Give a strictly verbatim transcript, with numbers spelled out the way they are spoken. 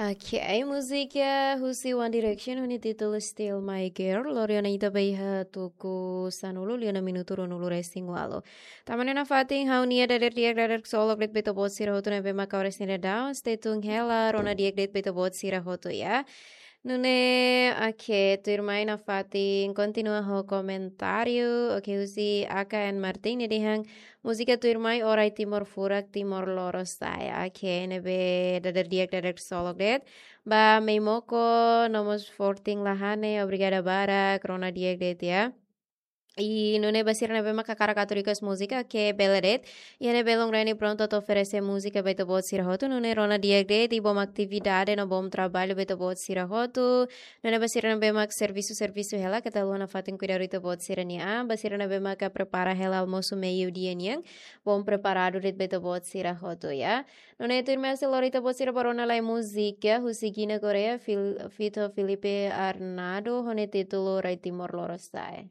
Ok, múzika husi One Direction ho nia títulu Still My Girl, lori ona ita ba iha tuku sanulu liu ona minutu ruanulu-resin-ualu. Tanba ne'e nafatin ha'u-nia dadeer di'ak, dadeer ksolok de'it ba ita-boot sira hotu ne'ebé maka oras ne'e daudaun, stay tuned hela, rona di'ak de'it ba ita-boot sira hotu ya. Nune'e, ok, tuirmai nafatin kontinua ho komentáriu, ok, husi A K N Martin nia dehan, múzika tuirmai Orai Timor Furak, Timor Lorosa'e. Ok, ne'ebé dadeer di'ak, dadeer ksolok de'it. Ba Meimoko, nomós Fortin Lahane, obrigada barak, rona di'ak de'it ya. I nune'e ba sira ne'ebé maka hakarak atu request múzika, ok, bele de'it. Iha ne'e Belong Reni prontu atu oferese múzika ba ita-boot sira hotu, nune'e rona di'ak de'it, i bom atividade no bom traballu ba ita-boot sira hotu. Nune'e ba sira ne'ebé mak servisu, servisu hela, keta haluha nafatin kuidadu ita-boot sira-nia an, ba sira ne'ebé maka prepara hela almosu meiudia nian, bom preparadu de'it ba ita-boot sira hotu ya. Nune'e tuirmai sei lori ita-boot sira ba rona lai múzika husi Guiné Korea, Fil-, feat Filipe Arnado, ho nia títulu Orai Timor Lorosa'e.